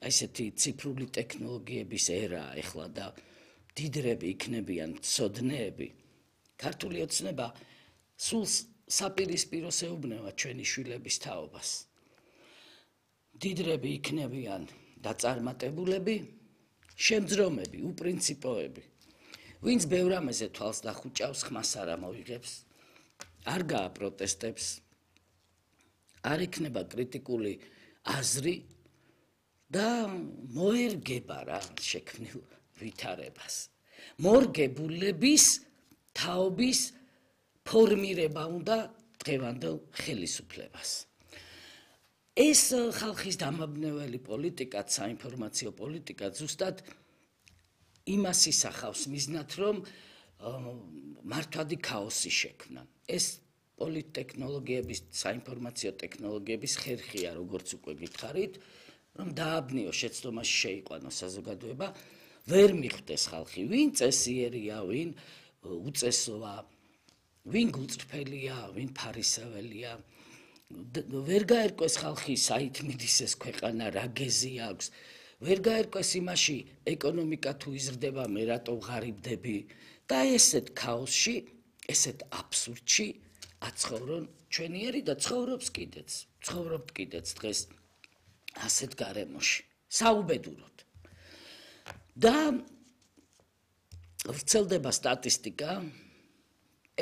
ესეთი ციფრული ტექნოლოგიების ერა ეხლა და დიდრები იქნებიან მცოდნეები, ქართული ოცნება სულ საპირისპიროს ეუბნება ჩვენი შვილების თაობას. დიდრები იქნებიან დაწარმატებულები, შემძრომები, უპრინციპოები. ვინც ბევრ ამაზე თვალს დახუჭავს, ხმას არ ამოიღებს, არ გააპროტესტებს, არ იქნება კრიტიკული აზრი და მოერგება რა შექმნილ ვითარებას. მორგებულების თაობის ფორმირება უნდა დღევანდელ ხელისუფლებას. ეს ხალხის დამაბნეველი პოლიტიკა, საინფორმაციო პოლიტიკა ზუსტად იმას ისახავს მიზნად, რომ მართვადი ქაოსი შექმნან. ეს პოლიტტექნოლოგიების, საინფორმაციო ტექნოლოგიების ხერხია, როგორც უკვე გითხარით, რომ დააბნიო შეცდომაში შეიყვანოს საზოგადოება, ვერ მიხვდეს ხალხი, ვინ წესიერია, ვინ უწესოა, ვინ გულწრფელია, ვინ ფარისეველია. ვერ გაერკვეს ხალხი საით მიდის ეს ქვეყანა, რა გეზი აქვს. ვერ გაერკვეს იმაში ეკონომიკა თუ იზრდება, მე რატო ვღარიბდები და ესეთ ქაოსში, ესეთ აბსურდში აცხოვრონ ჩვენიერი და ცხოვრობთ კიდეც დღეს ასეთ გარემოში, საუბედუროდ. და ვრცელდება სტატისტიკა,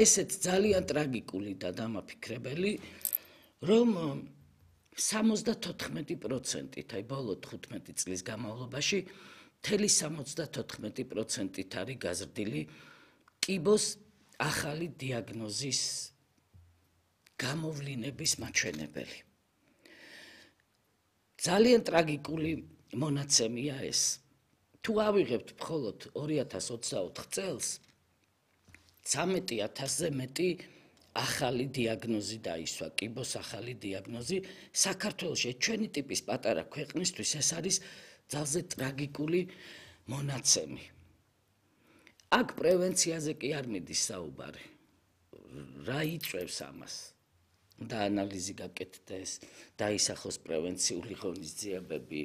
ესეც ძალიან ტრაგიკული და დამაფიქრებელი, რომ 74%-ით, აი ბოლო 15 წლის განმავლობაში, მთელი 74%-ით არის გაზრდილი კიბოს ახალი დიაგნოზის გამოვლინების მაჩვენებელი. ძალიან ტრაგიკული მონაცემია ეს. თუ ავიღებთ მხოლოდ 2024 წელს, 13,000-ზე მეტი ახალი დიაგნოზი დაისვა, კიბოს ახალი დიაგნოზი საქართველოში ჩვენი ტიპის პატარა ქვეყნისთვის ეს არის ძალზე ტრაგიკული მონაცემი. აქ პრევენციაზე კი არ მიდის საუბარი. რა იწვევს ამას? და ანალიზი გაკეთდეს, დაისახოს პრევენციული ღონისძიებები.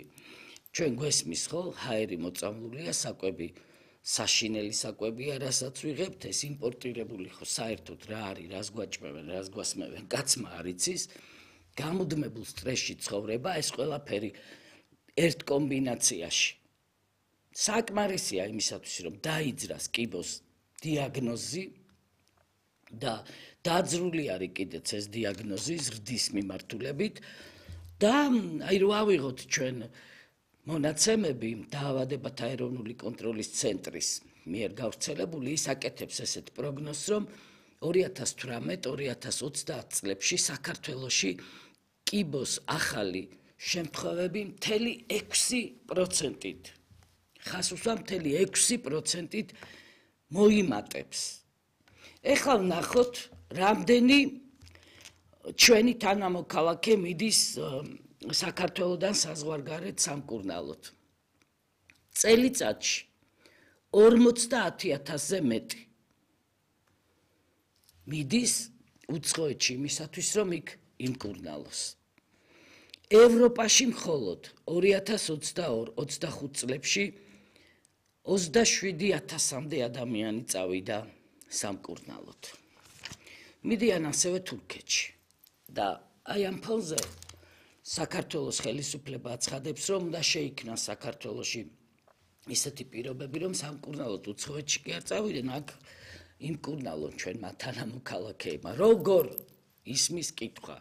ჩვენ გვესმის ხო, ჰაერი მოწამლულია, საკვები საშინელი საკვებია, რასაც ვიღებთ, ეს იმპორტირებული ხო საერთოდ რა არის, რას გვაჭმევენ, რას გვასმევენ, კაცმა არ იცის, გამუდმებულ სტრესში ცხოვრება, ეს ყველაფერი ერთ კომბინაციაში. საკმარისია იმისათვის, რომ დაიძრას კიბოს დიაგნოზი და დაძრული არის კიდეც ეს დიაგნოზი ზრდის მიმართულებით და აი რო ავიღოთ ჩვენ მონაცემები დაავადებათა ეროვნული კონტროლის ცენტრის მიერ გავრცელებული, ის აკეთებს ესეთ პროგნოზს, რომ 2018-2020 წლებში საქართველოში კიბოს ახალი შემთხვევები მთელი 6%-ით, ხასუსა მთელი 6%-ით მოიმატებს. ეხლა ვნახოთ, რამდენი ჩვენი თანამოქალაქე მიდის საქართველოდან საზღვარგარეთ სამკურნალოდ. წელიწადში 50,000-ზე მეტი მიდის უცხოეთში იმისათვის, რომ იქ იმკურნალოს. ევროპაში მხოლოდ 2022-25 წლებში 27,000-მდე ადამიანი წავიდა სამკურნალოდ. მიდიან ასევე თურქეთში და აი ამ ფონზე საქართველოს ხელისუფლება აცხადებს, რომ უნდა შეიქმნას საქართველოში ისეთი პირობები, რომ სამკურნალოდ უცხოეთში კი არ წავიდნენ, აქ იმკურნალონ ჩვენმა თანამოქალაქეებმა. როგორ ისმის კითხვა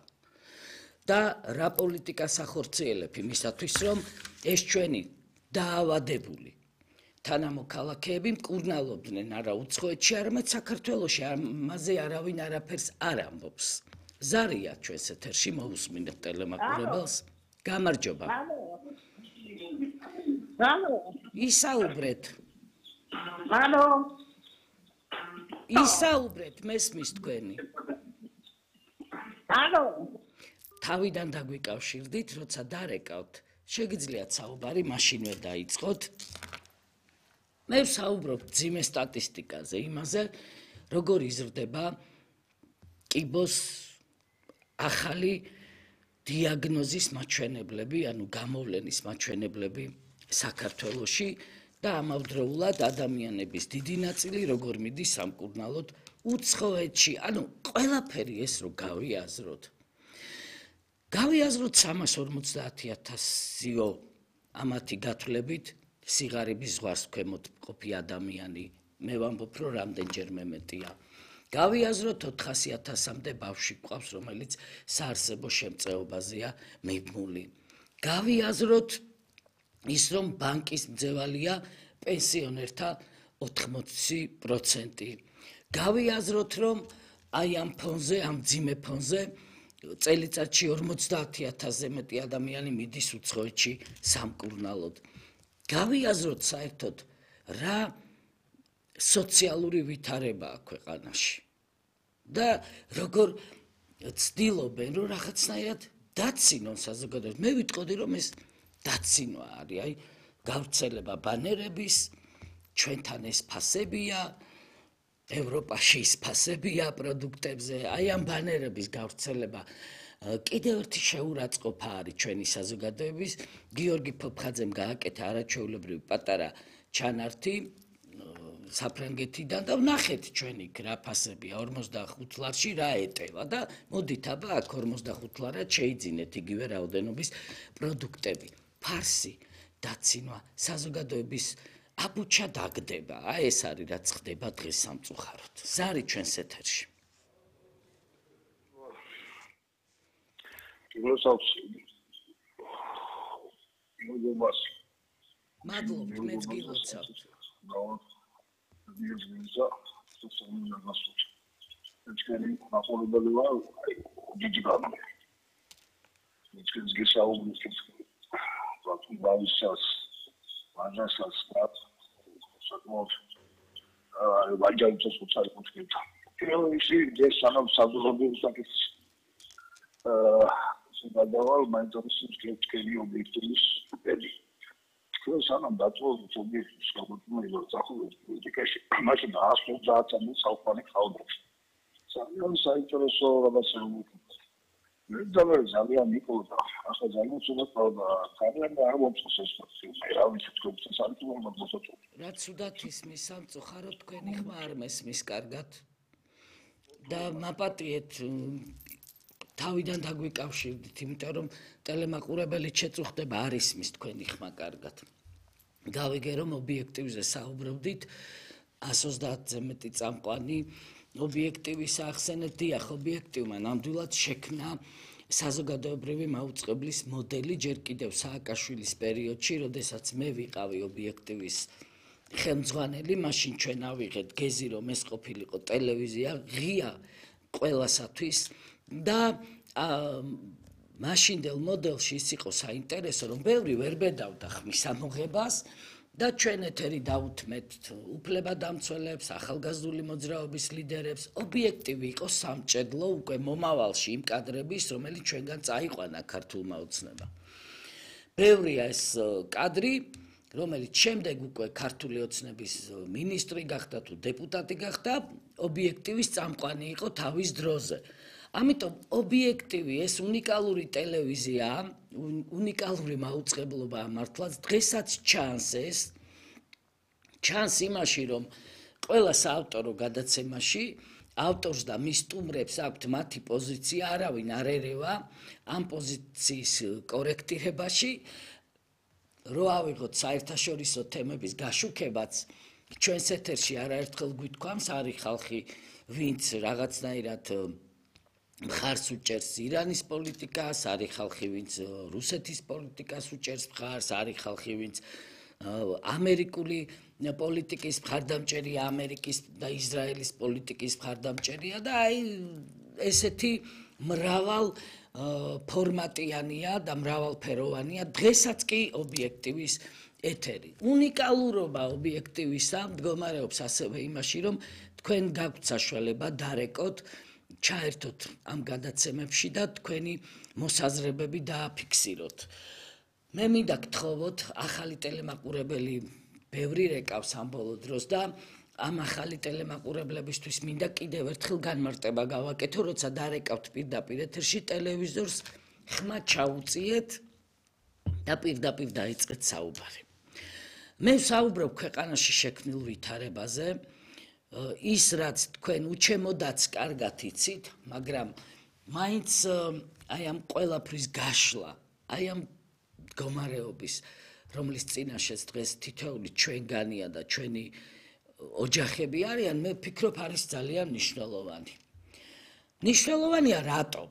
და რა პოლიტიკას ახორციელებ იმისათვის, რომ ეს ჩვენი დაავადებული თანამოქალაქეები მკურნალობდნენ არა უცხოეთში, არამედ საქართველოში, ამაზე არავინ არაფერს არ ამბობს. ზარია ჩვენს ეთერში, მოусმინეთ ტელემაყურებელს. გამარჯობა. ისაუბრეთ. ისაუბრეთ, მესმის თქვენი. თავიდან დაგვიკავშირდით, როცა დარეკავთ, შეგიძლიათ საუბარი მაშინვე დაიწყოთ. მე ვსაუბრობ ძიმე სტატისტიკაზე, იმაზე, როგორ იზრდება კიბოს ახალი დიაგნოზის მაჩვენებლები, ანუ გამოვლენის მაჩვენებლები საქართველოში და ამავდროულად ადამიანების დიდი ნაწილი როგორ მიდის სამკურნალოდ უცხოეთში, ანუ ყველაფერი ეს რო გავიაზროთ. გავიაზროთ 350,000-იო ამათი გათვლებით სიღარიბის ზღვას ქვემოთ მყოფი ადამიანი, მე ვამბობ, რომ რამდენჯერმე მეტია. გავიაზროთ 400,000-მდე ბავშვი გვყავს, რომელიც საარსებო შემწეობაზეა მიბმული. გავიაზროთ ის, რომ ბანკის მძევალია პენსიონერთა 80%. გავიაზროთ, რომ აი ამ ფონზე, ამ მძიმე ფონზე წელიწადში 50,000-ზე მეტი ადამიანი მიდის უცხოეთში სამკურნალოდ. გავიაზროთ საერთოდ რა სოციალური ვითარებაა ქვეყანაში და როგორ ცდილობენ, რომ რაღაცნაირად დაცინონ საზოგადოებას. მე ვიტყოდი, რომ ეს დაცინვა არის, აი გავრცელება ბანერების, ჩვენთან ეს ფასებია, ევროპაში ის ფასებია პროდუქტებზე, აი ამ ბანერების გავრცელება კიდევ ერთი შეურაცხყოფა არის ჩვენი საზოგადოების. გიორგი ფოფხაძემ გააკეთა არაჩვეულებრივი პატარა ჩანართი საფრანგეთიდან და ვნახეთ ჩვენ იქ რა ფასებია 45 ლარში რა ეტევა და მოდით აბა აქ 45 ლარად შეიძინეთ იგივე რაოდენობის პროდუქტები. ფარსი, დაცინვა, საზოგადოების აბუჩა დაგდება. აი ეს არის რაც ხდება დღეს სამწუხაროდ. ზარი ჩვენს ეთერში. მადლობთ, მეც გილოცავთ. სანამ დაწვეულს ობიექტის გამოწვევა სახურებს პოლიტიკაში, მაშინ 150 საუკუნე ხავდებს. ძალიან საინტერესო რაღაცაა. მე ძალიან მიყოლდა, ახლა ძალიან ცუდად ყავდა, ძალიან არ მომწონს ეს ფაქტი. რა ვიცი თქვენ საერთოდ მოსაწოვ. რაც ცუდად ისმის სამწუხაროდ თქვენი ხმა არ მესმის კარგად და მაპატიეთ თავიდან დაგვიკავშირდით, იმიტომ რომ ტელემაყურებელი შეწუხდება არ ისმის თქვენი ხმა კარგად. გავიგე რომ ობიექტივზე საუბრობდით 130-ზე მეტი წამყვანი ობიექტივის ახსენეთ, დიახ, ობიექტივმა ნამდვილად შექმნა საზოგადოებრივი მაუწყებლის მოდელი ჯერ კიდევ სააკაშვილის პერიოდში, როდესაც მე ვიყავი ობიექტივის ხელმძღვანელი, მაშინ ჩვენ ავიღეთ გეზი, რომ ეს ყოფილიყო ტელევიზია ღია ყველასათვის და მაშინდელ მოდელში ის იყო საინტერესო, რომ ბევრი ვერ ბედავდა ხმის ამოღებას და ჩვენ ეთერი დაუთმეთ უფლებადამცველებს, ახალგაზრდული მოძრაობის ლიდერებს. ობიექტივი იყო სამჭედლო უკვე მომავალში იმ კადრების, რომელიც ჩვენგან წაიყვანა ქართულმა ოცნებამ. ბევრია ეს კადრი, რომელიც შემდეგ უკვე ქართული ოცნების მინისტრი გახდა თუ დეპუტატი გახდა, ობიექტივის წამყვანი იყო თავის დროზე. ამიტომ ობიექტივი ეს უნიკალური ტელევიზია, უნიკალური მაუწყებლობაა მართლაც დღესაც ჩანს იმაში, რომ ყველა საავტორო გადაცემაში ავტორს და მის სტუმრებს აქვთ მათი პოზიცია, არავინ არ ერევა ამ პოზიციის კორექტირებაში, რო ავიღოთ საერთაშორისო თემების გაშუქებაც, ჩვენს ეთერში არაერთხელ გვითქვამს, არის ხალხი, ვინც რაღაცნაირად მხარს უჭერს ირანის პოლიტიკას, არის ხალხი, ვინც რუსეთის პოლიტიკას უჭერს მხარს, არის ხალხი, ვინც ამერიკული პოლიტიკის მხარდამჭერია, ამერიკის და ისრაელის პოლიტიკის მხარდამჭერია და აი ესეთი მრავალ ფორმატიანია და მრავალფეროვანია დღესაც კი ობიექტივის ეთერი. უნიკალურობა ობიექტივისა მდგომარეობს ასევე იმაში, რომ თქვენ გაქვთ საშუალება დარეკოთ, ჩაერთოთ ამ გადაცემებში და თქვენი მოსაზრებები დააფიქსიროთ. მე მინდა გთხოვოთ, ახალი ტელემაყურებელი ბევრი რეკავს ამ ბოლო დროს და ამ ახალი ტელემაყურებლებისთვის მინდა კიდევ ერთხელ განმარტება გავაკეთო, როცა დარეკავთ პირდაპირ ეთერში ტელევიზორს, ხმა ჩაუწიეთ და პირდაპირ დაიწყეთ საუბარი. მე ვსაუბრობ ქვეყანაში შექმნილ ვითარებაზე, ის რაც თქვენ უჩემოდაც კარგად იცით, მაგრამ მაინც აი ამ ყველაფრის გაშლა, აი ამ მდგომარეობის, რომლის წინაშეც დღეს თითოეული ჩვენგანია და ჩვენი ოჯახები არიან, მე ვფიქრობ, არის ძალიან მნიშვნელოვანი. მნიშვნელოვანია რატომ?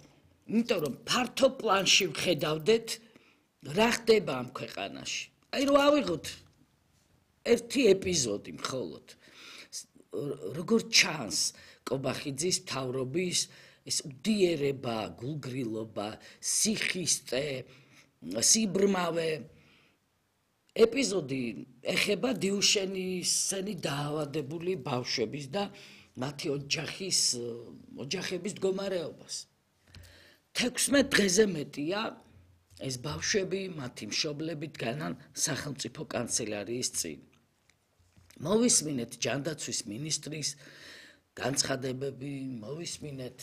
იმიტომ რომ ფართო პლანში ვხედავდეთ, რა ხდება ამ ქვეყანაში. აი რომ ავიღოთ ერთი ეპიზოდი მხოლოდ. როგორ ჩანს კობახიძის მთავრობის ეს უდიერება, გულგრილობა, სიხისტე, სიბრმავე ეპიზოდი ეხება დიუშენისენი დაავადებული ბავშვების და მათი ოჯახების მდგომარეობას. 16 დღეზე მეტია ეს ბავშვები, მათი მშობლები დგანან სახელმწიფო კანცელარიის წინ. მოვისმინეთ ჯანდაცვის მინისტრის განცხადებები, მოვისმინეთ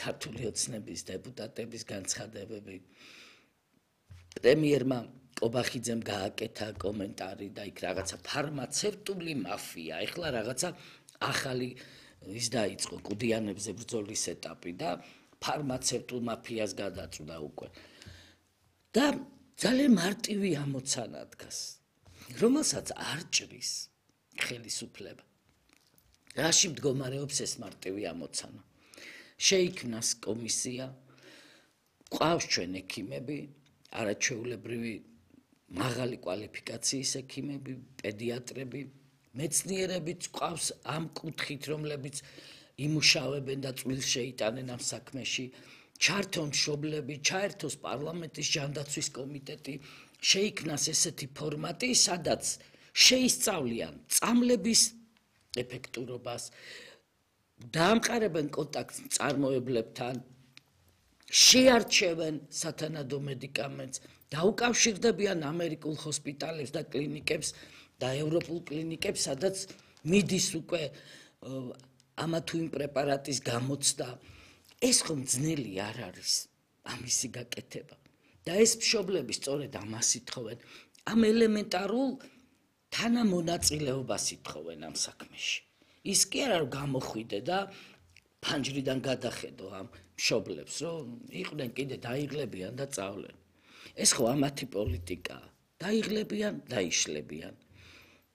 ქართული ოცნების დეპუტატების განცხადებები. პრემიერმა კობახიძემ გააკეთა კომენტარი და იქ რაღაცა ფარმაცევტული მაფია, ეხლა რაღაცა ახალი ის დაიწყო კუდიანებზე ბრძოლის ეტაპი და ფარმაცევტულ მაფიას გადაწვდა უკვე. და ძალიან მარტივი ამოცანა დგას, რომელსაც არ ჭრის ხელისუფლება. რაში მდგომარეობს ეს მარტივი ამოცანა? შეიქმნას კომისია, ყავს ჩვენ ექიმები, არაჩვეულებრივი მაღალი კვალიფიკაციის ექიმები, პედიატრები, მეცნიერებიც ყავს ამ კუთხით, რომლებიც იმუშავებენ და წვრილს შეიტანენ ამ საქმეში. ჩართონ მშობლები, ჩაერთოს პარლამენტის ჯანდაცვის კომიტეტი, შეიქმნას ესეთი ფორმატი, სადაც შეისწავლიან წამლების ეფექტურობას, დაამყარებენ კონტაქტს მწარმოებლებთან, შეარჩევენ სათანადო მედიკამენტს, დაუკავშირდებიან ამერიკულ ჰოსპიტალებს და კლინიკებს და ევროპულ კლინიკებს, სადაც მიდის უკვე ამა თუ იმ პრეპარატის გამოცდა. ეს ხომ ძნელი არ არის ამისი გაკეთება. და ეს მშობლები სწორედ ამას ითხოვენ, ამ ელემენტარულ თანამონაწილეობას ითხოვენ ამ საქმეში. ის კი არა რომ გამოხვიდე და ფანჯრიდან გადახედო ამ მშობლებს, რომ იყვნენ კიდე დაიღლებიან და წავლენ. ეს ხო ამათი პოლიტიკაა. დაიღლებიან, დაიშლებიან.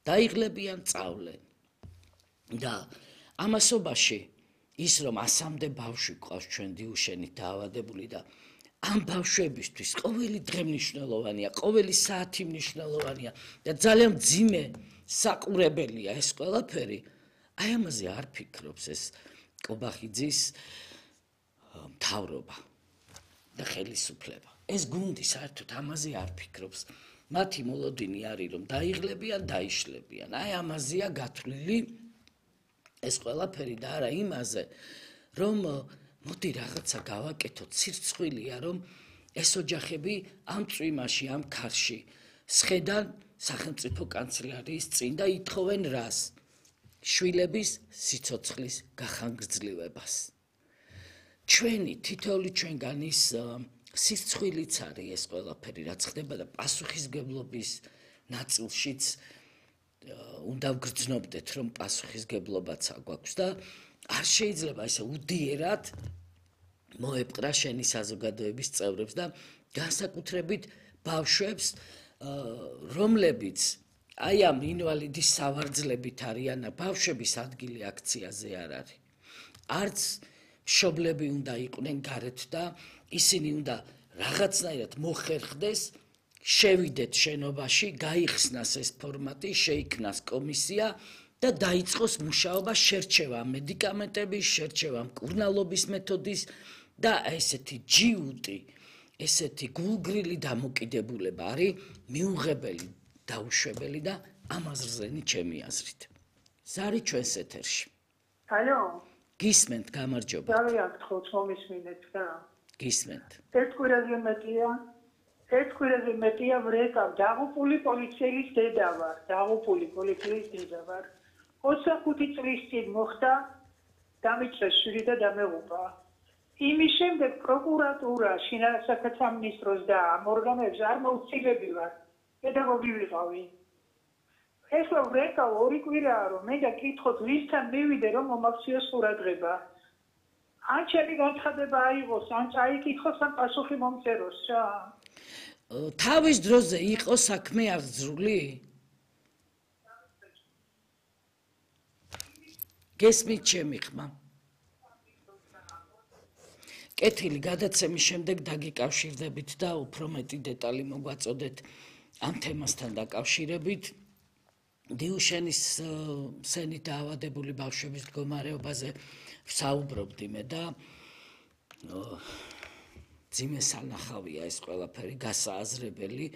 დაიღლებიან, წავლენ. და ამასობაში ის რომ 100-მდე ბავშვი ყავს ჩვენ დიუშენით დაავადებული და ამ ბავშვებისთვის ყოველი დღე მნიშვნელოვანია, ყოველი საათი მნიშვნელოვანია და ძალიან მძიმე საყურებელია ეს ყველაფერი. აი ამაზე არ ფიქრობს ეს კობახიძის მთავრობა და ხელისუფლება. ეს გუნდი საერთოდ ამაზე არ ფიქრობს. მათი მოლოდინი არის რომ დაიღლებიან, დაიშლებიან. აი ამაზეა გათვლილი ეს ყველაფერი და არა იმაზე, რომ მოდი რაღაცა გავაკეთოთ, სირცხვილია, რომ ეს ოჯახები ამ წვიმაში, ამ ქარში სხედან სახელმწიფო კანცელარიის წინ და ითხოვენ რას? შვილების სიცოცხლის გახანგრძლივებას. ჩვენი თითოეული ჩვენგანის სირცხვილიც არის ეს ყველაფერი, რაც ხდება და პასუხისგებლობის ნაწილშიც უნდა ვგრძნობდეთ, რომ პასუხისგებლობაც აგვაქვს და არ შეიძლება ესე უდიერად მოეპყრა შენი საზოგადოების წევრებს და განსაკუთრებით ბავშვებს, რომლებიც აი ამ ინვალიდის სავარძლებით არიან, ბავშვების ადგილი აქციაზე არ არის. არც მშობლები უნდა იყვნენ გარეთ და ისინი უნდა რაღაცნაირად მოხერხდეს, შევიდეთ შენობაში, გაიხსნას ეს ფორმატი, შეიქმნას კომისია და დაიწყოს მუშაობა, შერჩევა მედიკამენტების, შერჩევა მკურნალობის მეთოდის და ესეთი ჯიუტი, ესეთი გულგრილი დამოკიდებულება არის მიუღებელი, დაუშვებელი და ამაზრზენი ჩემი აზრით. ზარი ჩვენს ეთერში. ალო? გისმენთ, გამარჯობა. ძალიან გთხოვთ, მომისმინეთ რა. გისმენთ. ერთ კვირაზე მეტია ვრეკავ, დაღუპული პოლიციის დედა ვარ, 25 წლის წინ მოხდა, დამიწეს შვილი და დამეღუპა. იმის შემდეგ პროკურატურა, შინაგან სამინისტროს და ამ ორგანოებს არ მოუწილებიათ პედაგოგი ვიყავი. ეხლა ვრეკავ 2 კვირაა რომ მე და კითხოთ ვისთან მივიდე რომ მომაქციოს ყურადღება. ან ჩემი განცხადება აიღოს, ან წაიკითხოს, ან პასუხი მომწეროს რა. თავის დროზე იყო საქმე აღძრული? გესმით ჩემი ხმა? კეთილი გადაცემის შემდეგ დაგიკავშირდებით და უფრო მეტი დეტალი მოგვაწოდეთ ამ თემასთან დაკავშირებით. დიუშენის სენით დაავადებული ბავშვების მდგომარეობაზე ვსაუბრობდი მე და ძიმე სანახავია ეს ყველაფერი გასააზრებელი.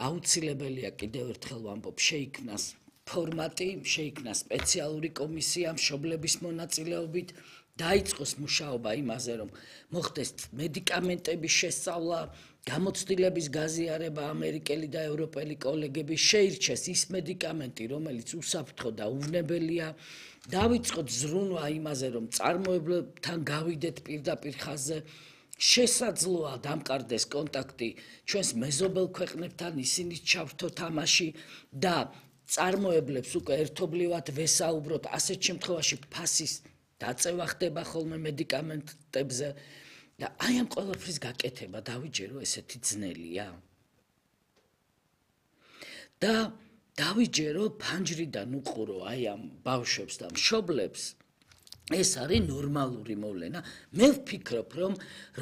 აუცილებელია კიდევ ერთხელ ვამბობ, შეიქმნას ფორმატი, შეიქმნას სპეციალური კომისია მშობლების მონაწილეობით, დაიწყოს მუშაობა იმაზე, რომ მოხდეს მედიკამენტების შესწავლა, გამოცდილების გაზიარება ამერიკელი და ევროპელი კოლეგების, შეირჩეს ის მედიკამენტი, რომელიც უსაფრთხო და უვნებელია, დავიწყოთ ზრუნვა იმაზე, რომ წარმოებლებთან გავიდეთ პირდაპირ ხაზზე, შესაძლოა დამყარდეს კონტაქტი ჩვენს მეზობელ ქვეყნებთან, ისინიც ჩავრთო თამაში და წარმოებლებს უკვე ერთობლივად ვესაუბროთ, ასეთ შემთხვევაში ფასის დაწევა ხდება ხოლმე მედიკამენტებზე და აი ამ ყველაფრის გაკეთება დავიჯერო ესეთი ძნელია. და დავიჯერო ფანჯრიდან უყურო აი ამ ბავშვებს და მშობლებს. ეს არის ნორმალური მოვლენა. მე ვფიქრობ, რომ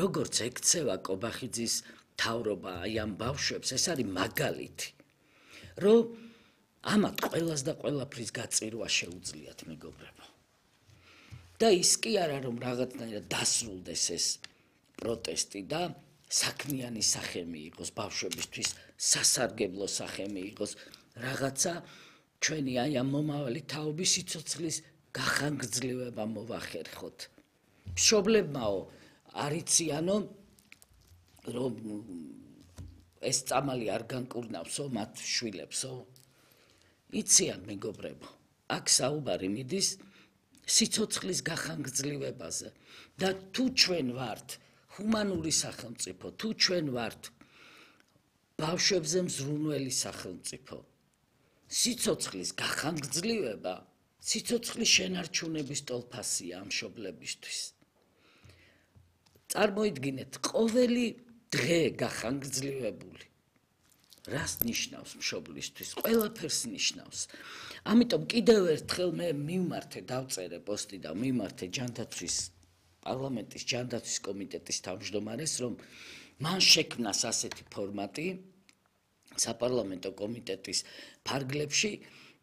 როგორც ექცევა კობახიძის მთავრობა აი ამ ბავშვებს, ეს არის მაგალითი, რომ ამათ ყველას და ყველაფრის გაწირვა შეუძლიათ მეგობრებო. და ის კი არა რომ რაღაცნაირად დასრულდეს ეს პროტესტი და საქმიანი სახე მიიღოს ბავშვებისთვის, სასარგებლო სახე მიიღოს, რაღაცა ჩვენი აი ამ მომავალი თაობის სიცოცხლის გახანგრძლივება მოვახერხოთ. მშობლებმაო არ იციანო რომ ეს წამალი არ განკურნავსო მათ შვილებსო. იციან მეგობრებო, აქ საუბარი მიდის სიცოცხლის გახანგრძლივებაზე და თუ ჩვენ ვართ ჰუმანური სახელმწიფო, თუ ჩვენ ვართ ბავშვებზე მზრუნველი სახელმწიფო, სიცოცხლის გახანგრძლივება სიცოცხლის შენარჩუნების ტოლფასია ამ მშობლებისთვის. წარმოიდგინეთ, ყოველი დღე გახანგრძლივებული რას ნიშნავს მშობლისთვის? ყველაფერს ნიშნავს. ამიტომ კიდევ ერთხელ მე მივმართე, დავწერე პოსტი და მივმართე პარლამენტის ჯანდაცვის კომიტეტის თავმჯდომარეს, რომ მან შექმნას ასეთი ფორმატი საპარლამენტო კომიტეტის ფარგლებში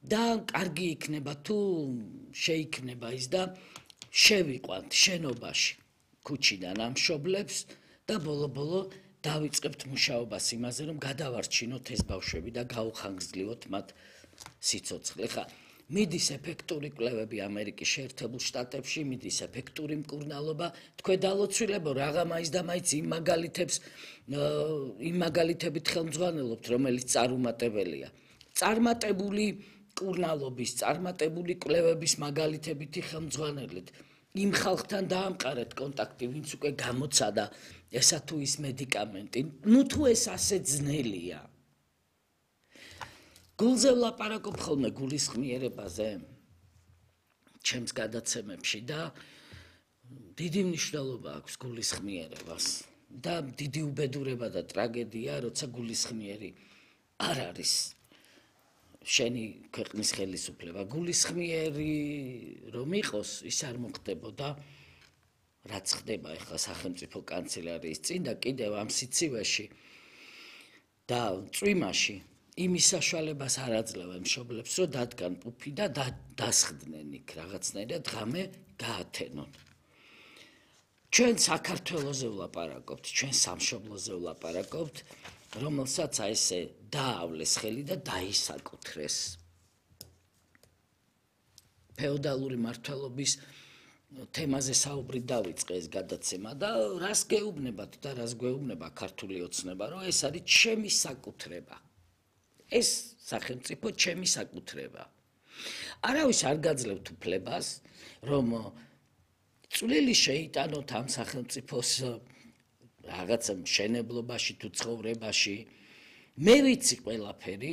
და კარგი იქნება თუ შეიქმნება ის და შევიყვანთ შენობაში ქუჩიდან ამ მშობლებს და ბოლო-ბოლო დავიწყებთ მუშაობას იმაზე, რომ გადავარჩინოთ ეს ბავშვები და გაუხანგრძლივოთ მათ სიცოცხლე. ხა მიდის ეფექტური კვლევები ამერიკის შეერთებულ შტატებში, მიდის ეფექტური მკურნალობა, თქვენ დალოცვილებო რაღა მაინც და მაინც იმ მაგალითებით ხელმძღვანელობთ, რომელიც წარუმატებელია. წარმატებული მკურნალობის, წარმატებული კვლევების მაგალითებითი ხელმძღვანელეთ. იმ ხალხთან დაამყარეთ კონტაქტი, ვინც უკვე გამოცადა ესა თუ ის მედიკამენტი. ნუ თუ ეს ასე ძნელია. გულზე ვლაპარაკობ ხოლმე გულისხმიერებაზე ჩემს გადაცემებში და დიდი მნიშვნელობა აქვს გულისხმიერებას და დიდი უბედურება და ტრაგედია, როცა გულისხმიერი არ არის შენი ქვეყნის ხელისუფლება. გულისხმიერი რომ იყოს, ის არ მოხდებოდა რაც ხდება ახლა სახელმწიფო კანცელარიის წინ და კიდევ ამ სიცივეში და წვიმაში იმის საშუალებას არ აძლევენ მშობლებს, რომ დადგან პუფი და დასხდნენ იქ რაღაცნაირად ღამე გაათენონ. ჩვენ საქართველოზე ვლაპარაკობთ, ჩვენ სამშობლოზე ვლაპარაკობთ, რომელსაც ესე დაავლეს ხელი და დაისაკუთრეს ფეოდალური მართლობის თემაზე საუბრით დავიწყე ეს გადაცემა და რას გეუბნებათ და რას გვეუბნება ქართული ოცნება, რომ ეს არის ჩემი საკუთრება. ეს სახელმწიფო ჩემი საკუთრება. არავის არ გაძლევთ უფლებას, რომ წვლილი შეიტანოთ ამ სახელმწიფოს რაღაცა მშენებლობაში თუ ცხოვრებაში. მე ვიცი ყველაფერი,